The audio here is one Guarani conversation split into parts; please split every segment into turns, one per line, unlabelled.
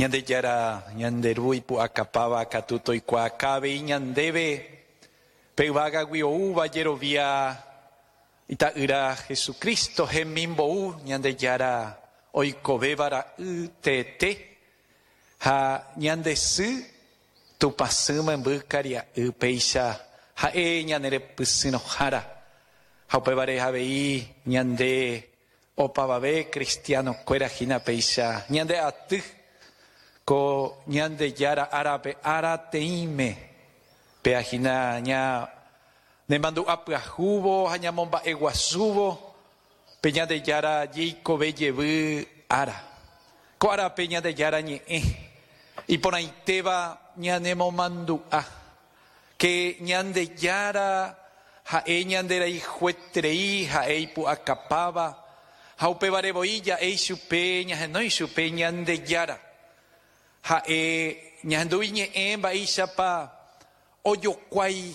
Ñandejára ñande Ru ipu'akapáva katu toikuaaka avei ñandéve pe yvágagui oúva jerovia Ita'ýra Jesucristo hemimbou Ñandejára oikovéva ra'y teete ha ñande sy Tupãsy memby karia'y péicha ha'e ñane repysyrõhára ha upévare avei ñande opavave cristiano-kuéra hína péicha ñande aty ko Ñandejára árape ára teĩme péa hína ña Nemandu'a pyahúvo ha ñamomba'eguasúvo pe Ñandejára jeikove jevy ára. Ko árape Ñandejára ñe'ẽ iporãitéva ñanemomandu'a ke Ñandejára ha'e ñanderayhueterei, ha'e ipu'akapáva, ha upévare voi ja'e ichupe, ñahenói chupe Ñandejára. Ha'e ñahendu iñe'ẽ mba'éichapa Ojokuái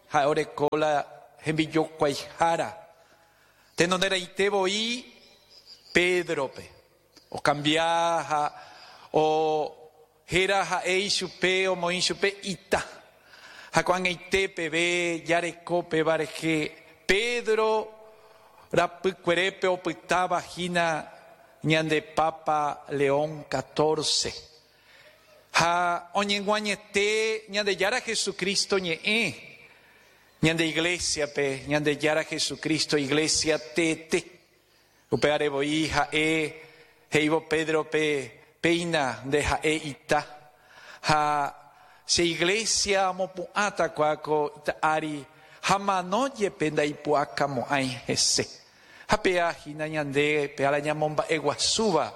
ha'e oreko la hembijokuaihára. Tenonderãite voi Pédrope. Okambia ha ohéra ha'e ichupe, omoĩ ichupe ita. Ha ko'ag̃aite peve jareko péva rehe Pedro rapykuerépe opytáva hína ñande Papa León catorce. Ha oñeg̃uañete Ñandejára Jesucristo ñe'ẽ, ñande Iglésiape, Ñandejára Jesucristo Iglésia teete. Upévare voi ha'e he'ívo Pédrope, Péina nde ha'e ita, ha che Iglésia omopu'ãta kua ko ita ári, ha mano jepe ndaipu'akamo'ãi hese. Ha péa hína ñande pe ára ñamomba'eguasúva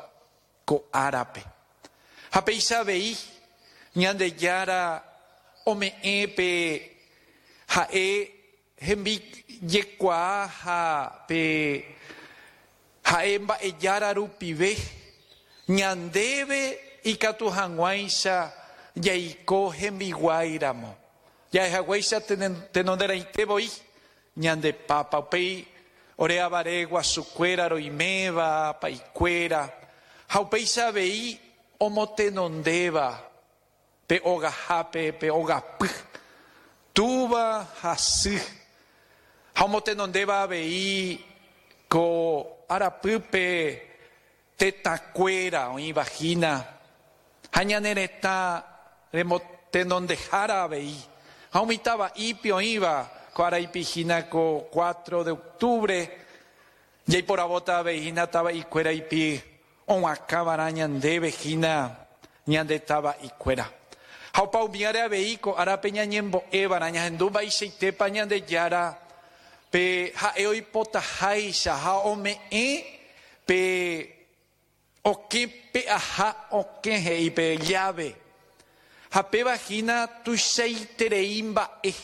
ko árape. Ha péicha avei Ñandejára ome'ẽ pe ha'e hembijekuaa ha pe ha'e mba'ejára rupive ñandéve ikatu hag̃uáicha jaiko hembiguái ramo. Ja'e haguéicha tenonderãite voi Ñande Papa, upéi ore avare guasukuéra roiméva, pa'ikuéra, ha upéicha avei omotenondéva pe ogahápe pe ogapy, túva ha sy, ha omotenondéva avei ko arapýpe tetãkuéra oĩva hína ha ñane retã remotenondehára avei, ha umi tava'ípe oĩva ko araipi hína ko cuatro de octubre, jaiporavóta avei hína tava'ikuéraipi og̃uakãvarã ñandéve hína ñande tava'ikuéra. Ha opa umíare avei ko árape ñañembo'évarã ñahendu mba'eichaitépa Ñandejára pe ha'e oipotaháicha ha ome'ẽ Pe okẽ pe'aha okẽ he'i pe lláve, ha péva hína tuichaiterei mba'e.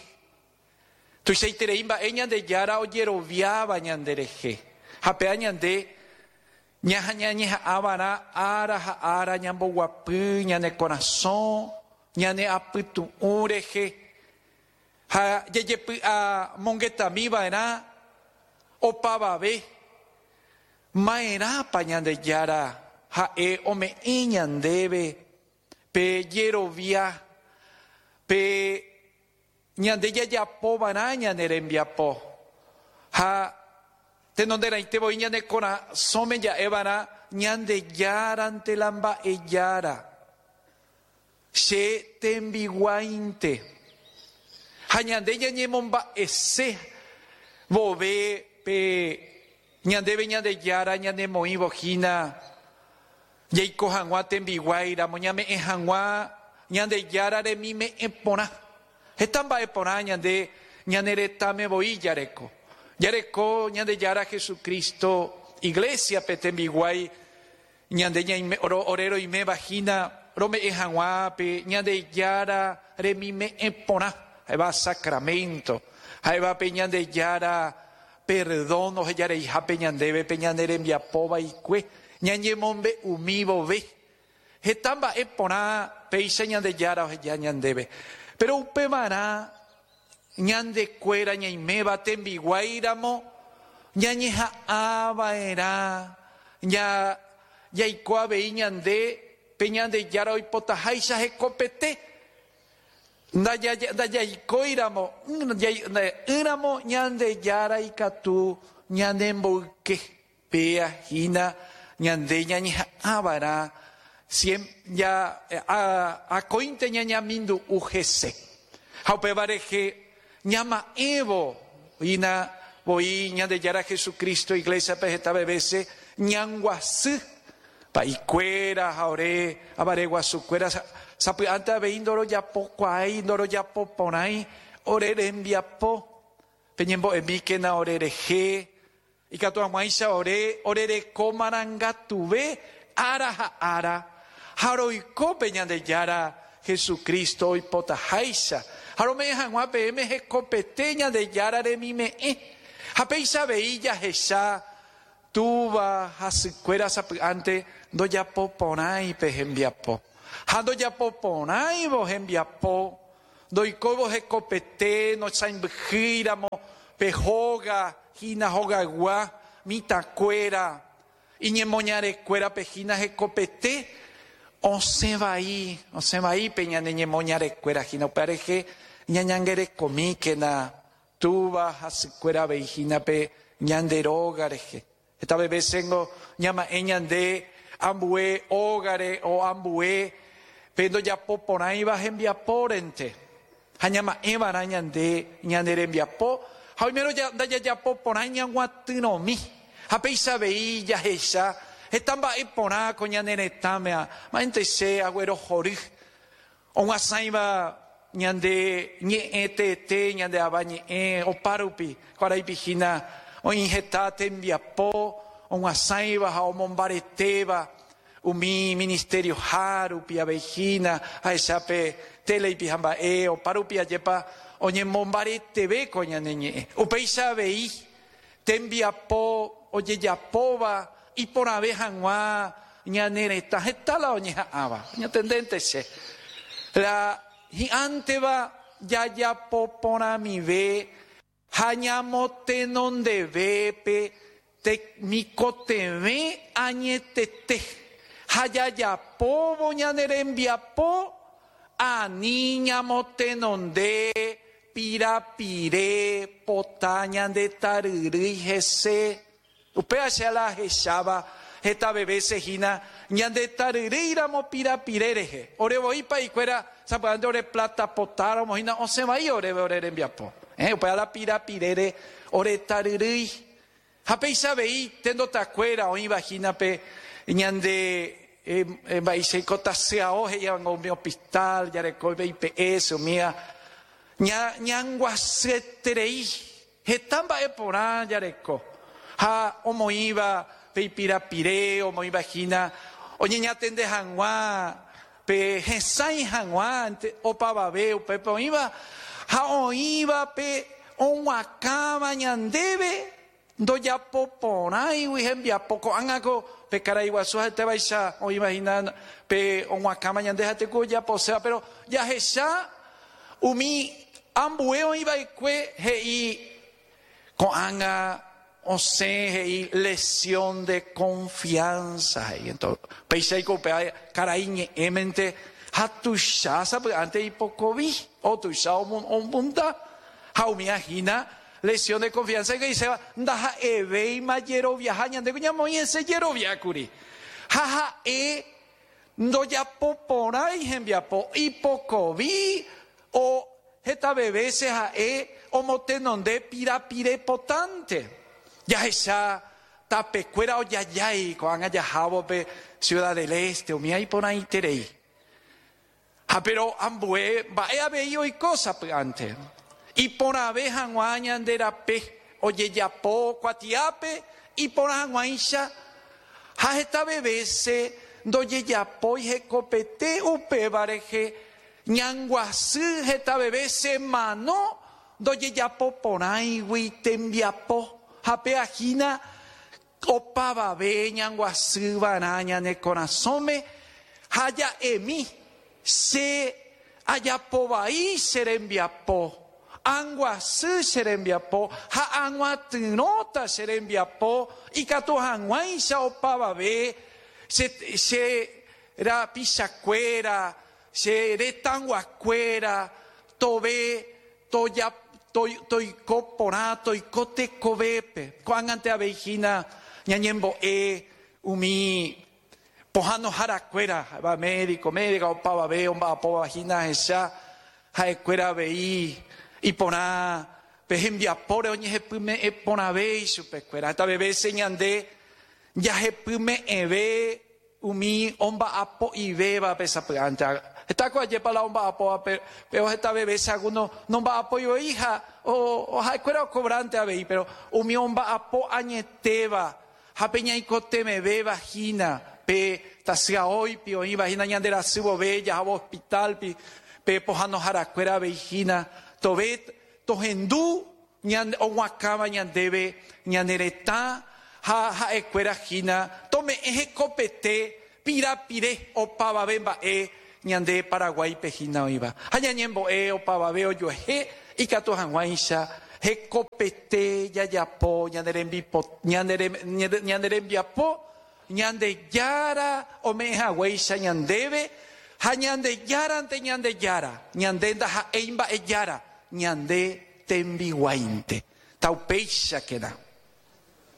Tuichaiterei mba'e Ñandejára ojeroviáva ñanderehe, ha péva ñande ñañeha'ãva'erã ára ha ára ñamboguapy ñane korasõ, ñane apytu'ũ rehe, ha jajepy'amongetamiva'erã opavave Ma'erãpa Ñandejára ha'e ome'ẽ ñandéve pe jerovia, pe ñande jajapo va'erã ñane rembiapo? Ha tenonderãite voi ñane korasõme ja'e va'erã Ñandejárante la mba'ejára, che tembiguáinte. Ha ñande ñañemomba'ese vove pe Ñandéve Ñandejára ñanemoĩvo hína jaiko hag̃ua tembiguái ramo, ñame'ẽ hag̃ua Ñandejára remime'ẽ porã. Heta mba'e porã ñande ñane retãme voi jareko. Jareko Ñandejára Jesucristo Iglésiape tembiguái ñande ñaime, ore roiméva hína rome'ẽ hag̃ua pe Ñandejára remime'ẽ porã, ha'éva sacramento, ha'éva pe Ñandejára perdón ohejareihápe ñandéve pe ñane rembiapo vaikue, ñañemombe'umi vove. Heta mba'e porã péicha Ñandejára oheja ñandéve. Péro upevarã ñandekuéra ñaiméva tembiguái ramo ñañeha'ã va'erã jaiko avei ñande. pe Ñandejára oipotaháicha hekopete. Ndajaikóiramo, ỹramo Ñandejára ikatu ñanemboyke. Péa hína ñande ñañeha'ãva'erã akóinte ñañamindu'u hese. Ha upéva rehe ñama'ẽvo hína voi Ñandejára Jesucristo Iglesia-pe hetave vése ñanguasy pa'ikuéra ha ore avare guasukuéra sapy'ánte avei ndorojapokuaái, ndorojapoporãi ore rembiapo. Peñembo'emíkena ore rehe, ikatu hag̃uáicha ore orereko marangatuve ára ha ára, ha roiko pe Ñandejára Jesucristo oipotaháicha, ha rome'ẽ hag̃ua peẽme hekopete Ñandejára remime'ẽ. Ha péicha avei jahecha túva ha sykuéra sapy'ánte ndojapoporãi pe hembiapo. Ha ndojapoporãivo hembiapo, Ndoikóivo hekopete nochãimbyhýiramo pe hóga hína hogaygua mitãkuéra, iñemoñarekuérape hína hekopete osẽ vai, osẽ vai pe ñane ñemoñarekuéra hína. Upéva rehe ñañangerekomíkena túva ha sykuéra avei hína pe ñande róga rehe. Hetave vésengo ñama'ẽ ñande ambue ógare o ambue pe ndojapo porãiva hembiapórente. Ha ñama'ẽ va'erã ñande ñane rembiapo ha oimérõ ndajajapo porãi ñaguatyrõmi. Ha péicha avei jahecha heta mba'e porã ko ñane retãme, ma'ẽnte che aguerohory Og̃uasãiva ñande ñe'ẽ teete, ñande ava ñe'ẽ opárupi, ko araipi hína oĩ heta tembiapo og̃uasãiva ha omombaretéva umi ministerioha rupi avei hína, ahecha pe téleipi ha mba'e opárupi ajépa oñemombareteve ko ñane ñe'ẽ. Upéicha avei tembiapo ojejapóva iporãve hag̃ua ñane retã heta la oñeha'ãva. Ñatendénte che. La hi'ãnteva jajapo porãmive ha ñamotenondeve pe temikotevẽ añetete ha jajapóvo ñane rembiapo ani ñamotenonde pirapire pota ñande taryrýi hese. Upéva che la ahecháva hetave vése hína ñande taryrýiramo pirapire rehe. Ore voi pa'ikuéra sapy'ánte ore pláta potáramo hína osẽ vai oréve ore rembiapo. Upéva la pirapirére ore taryrýi. Ha péicha avei tendotakuéra oĩva hína pe ñande mba'eichaiko tasyao he'ívango umi hospital, jareko IPS, umíva ñanguasyeterei. Heta mba'e porã jareko ha omoĩva pe ipirapire, omoĩva hína oñeñatende hag̃ua pe hesãi hag̃ua opavave upépe oĩva ha oĩva pe og̃uakãva ñandéve ndojapo porãigui hembiapo. Ko'ág̃a ko pe karai guasu ha'etévaicha oĩva hína pe og̃uakãva ñande ha'ete ku ojaposéva, péro jahecha Umi ambue oĩ va'ekue he'i ko'ág̃a osẽ he'i lesión de confianza he'i. Entonces, péicha oiko upéva karai ñe'ẽmente ha tuicha sapy'ánte ipokovi o tuicha omunda ha umíva hína lesión de confianza he'iséva ndaha'evéima jeroviaha ñande ko ñamoĩ hese jerovia kuri ha ha'e Ndojapo porãi hembiapo ipokovi o hetave vése ha'e omotenonde pirapire potánte. Jahecha tapekuéra ojajái ko'ág̃a jahávo pe Ciudad del Este, umíva iporãiterei. Ha péro ambue mba'e avei oiko sapy'ánte. Iporãve hag̃ua ñande rape ojejapo kuatiápe iporã hag̃uáicha ha hetave vése ndojejapói hekopete upéva rehe ñanguasy hetave vése mano ndojejapo porãigui tembiapo ha péa hína Opavave ñanguasy va'erã ñane korasõme ha ja'emi, Che ajapo vai che rembiapo, anguasy che rembiapo ha ag̃uatyrõta che rembiapo ikatu hag̃uáicha opavave che, che. Rapichakuéra, che retãguakuéra, tove toiko porã, toiko tekovépe. Ko'ág̃ante avei hína ñañembo'e umi pohãnoharakuéra, ha'éva médico, médica, opavave omba'apóva hína ahecha ha'ekuéra avei iporã pe hembiapóre oñehepyme'ẽ porãve ichupekuéra. Hetave vése ñande jahepyme'ẽve Umi omba'apo'ivévape sapy'ánte. Heta ko ajépa la omba'apóva péro hetave vése algúno nomba'apói voi ha ha'ekuéra okovránte avei, péro umi omba'apo añetéva ha pe ñaikotevẽvéva hína, pe tasyaóipi oĩva hína ñande rasy vove jahávo hospitálpi, pe pohãnoharakuéra avei hína, tove tohendu Oguakãva ñandéve ñane retã ha ha'ekuéra hína tome'ẽ hekopete pirapire opavave mba'e ñande Paraguáipe hína oĩva. Ha ñañembo'e opavave ojuehe ikatu hag̃uáicha hekopete jajapo ñane rembiapo Ñandejára ome'ẽ haguéicha ñandéve ha Ñandejárante Ñandejára, ñande ndaha'éi mba'e jára, ñande tembiguáinte. Taupéichakena.